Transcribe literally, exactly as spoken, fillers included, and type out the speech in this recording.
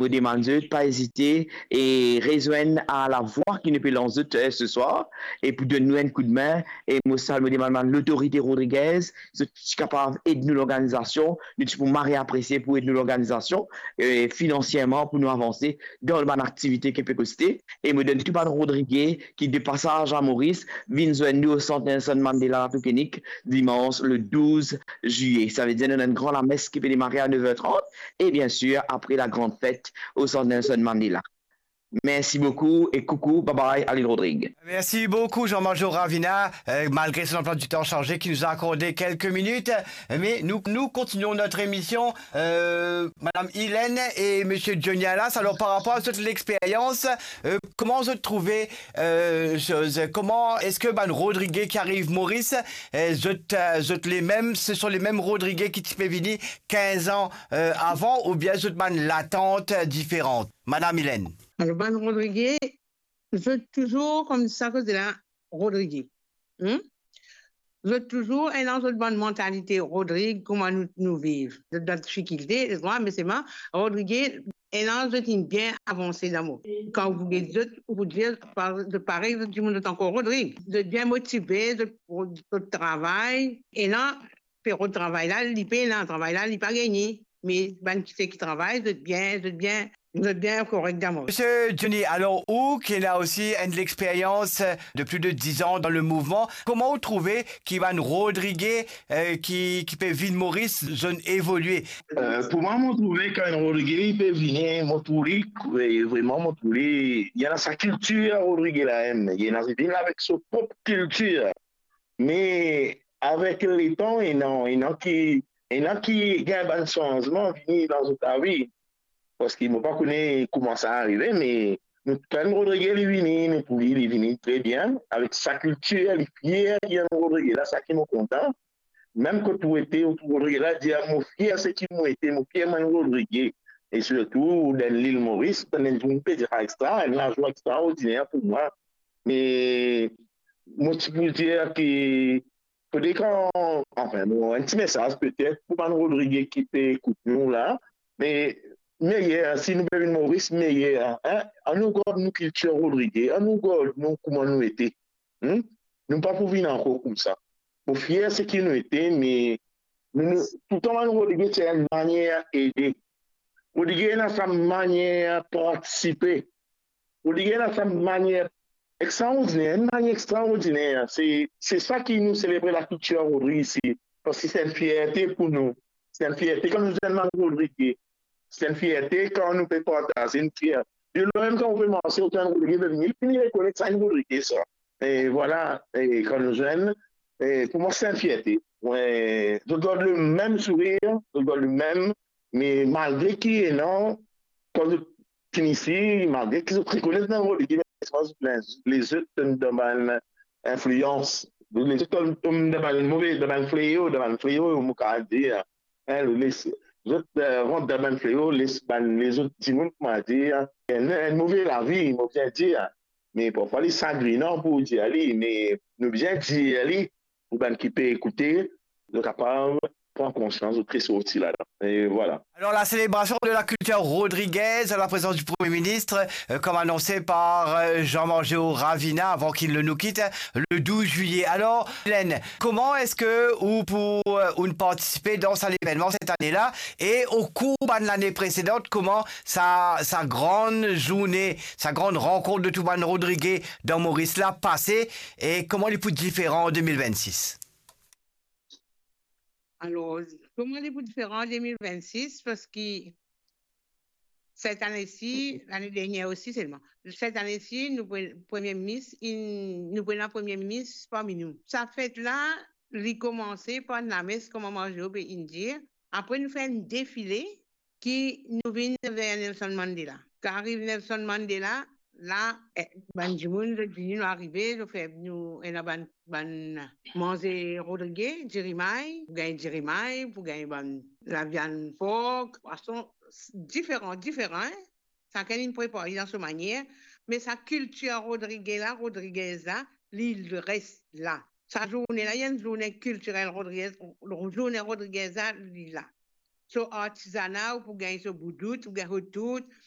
Mo demann zot pa ezite e rezwenn a lavwa ki nou pe lans zot, eh, se swar, e pou donn nou enn koudme. E mo sal, mo demann bann lotorite rodrigez, zot ti kapav ed nou lorganizasion, nou ti pou mari apresie pou ed nou lorganizasion, eh, finansierman pou nou avanse dan bann aktivite ki pe koste. E mo donn tou bann rodrige ki de pasaz a Moris, vinn zwenn nou o Sant Nelson Mandela Latokenik, dimans le douz zilye. Savedir nou ena enn gran lames ki pe demare a nef er trant, e bien sir, apre la gran fet o Sant Nelson Mandela. Mersi boukou e koukou, bye bye, a Lil Rodrig. Merci beaucoup, Jean-Major Ravina, euh, malgré son emploi du temps chargé, qui nous a accordé quelques minutes. Mais nous, nous continuons notre émission. Euh, Madame Hélène et Monsieur Johnny Alas, alors, par rapport à cette expérience, euh, comment vous trouvez, euh, chose, comment est-ce que bann Rodrige ki ariv Moris, euh, zot, euh, zot les mêmes, ce sont les mêmes Rodrige ki ti pe vini quinze ans, euh, avant, oubien zot bann latant, euh, diferan? Madame Hélène. Alor, bann Rodrige, zot touzour koumsa, koze la, Rodrige. Hmm? Zot touzour ena zot bann mantalite Rodrig, kouma nou, nou viv. Zot dan difikilte, me selman, Rodrige, ena zot inn bien avanse dan mo. Kan ou get zot, ou pou dir, pa-, zot parey, zot dimoun, zot ankor Rodrig. Zot bien motive, zot, zot travay. Ena, pero travay la, li pena, travay la, li pa gagne. Me bann ki, seki travay, zot bien, zot bien, zot bien korek dan mo. Monsieur Johnny, alors, ou qui a aussi une expérience de plus de dix ans dans le mouvement, comment vous trouvez ki bann Rodrige, euh, ki, ki pe vinn Moris, zot inn evolue? Euh, pou mwa, mo trouve kan enn Rodrige li pe vini, mo trouve li, eh, vreman, mo trouve li, li ena sa kiltir Rodrige la mem, li ena, li vinn avek so prop kiltir. Me avek letan, ena, ena ki, ena ki gagn bann sanzman vini dan zot lavi. Paski mo pa kone kouma sa arive, me nou, kan Rodrige li vini, nou trouve li, li vini tre bien, avek sa kiltir, li fier ki enn Rodrige la, sa ki mo kontan. Mem kot ou ete, ou trouv Rodrige la, dir, "Mo fier seki mo ete, mo fier mo enn Rodrige." E sirtou dan Lil Moris, dan enn dimoun pe dir sa extra, enn lazwa extraordiner pou mwa. Me mo ti pou dir ki fode kan, anfin, bon, enn ti mesaz petet pou bann Rodrige ki pe ekout nou la, me meyer, si nou pe vinn Moris, meyer, hein? Annou gard nou kiltir Rodrige, annou gard nou kouma nou ete. Hmm? Nou pa pou vinn ankor koumsa. Mo fier seki nou ete, me nou, nou, toultan bann Rodrige ti ena enn manier ede. Rodrige ena sa manier partisipe. Rodrige ena sa manier extraordiner, enn manier extraordiner. Se, se sa ki nou selebre lakiltir Rodrige isi, paski se enn fierte pou nou. Se enn fierte kan nou enn bann Rodrige. Se enn fierte kan nou pe partaze, nou fier. De lwen mem kan ou pe marse, ou trouv enn Rodrige, be, li fini rekonet sa enn Rodrige sa. E vwala, e kan nou zwenn, e pou mwa se enn fierte. Wi, zot gard le mem sourir, zot gard le mem, me malgre ki ena, kan zot fini isi, malgre ki zot rekonet bann Rodrige, me zot, lezot dan bann inflians, lezot dan, dan bann move, dan bann fleo, dan bann fleo, mo kapav dir, hein, les, zot, euh, rant dan bann fleo, les bann, lezot dimoun, kouma dir, enn, enn move lavi, mo bizin dir. Me parfwa li sagrinan pou dir li, me nou bizin dir li, pou bann ki pe ekoute, zot kapav pran konsians, zot resorti ladan. E vwala. Alors, la célébration de la culture rodriguaise à la présence du Premier ministre, euh, comme annoncé par, euh, Jean-Major Ravina avant qu'il ne nous quitte, le douze juillet. Alors, Hélène, comment est-ce que ou pou, euh, ou participer dans cet événement cette année-là et au cours de l'année précédente, comment sa, sa grande journée, sa grande rencontre de tou bann Rodrige dan Moris la pase e kouma li pou diferan an de mil vennsis? Alor, kouma li pou diferan an de mil vennsis? Paski set ane-si, lane dernier osi selman, set ane-si, nou pre-, Premie Minis, inn, nou pena Premie Minis parmi nou. Sa fet la, li koumanse par enn lames, kouma Marjo pe inn dir. Apre, nou fer enn defile, ki nou vinn ver Nelson Mandela. Kan ariv Nelson Mandela, la, eh, bann dimoun, zot vini, nou arive, zot fer nou ena bann, bann manze Rodrige, dirimay, pou gagn dirimay, pou gagn bann laviann pork, pwason, s-, diferan, diferan, hein? Sakenn inn prepar li dan so manier, me sa kiltir Rodrige la, Rodriguez la, li res la. Sa zourne la, li enn zourne kiltirel Rodriguez, zourne Rodriguez la, li la. So artizana, ou pou gagn so boudout, ou gagn so tout,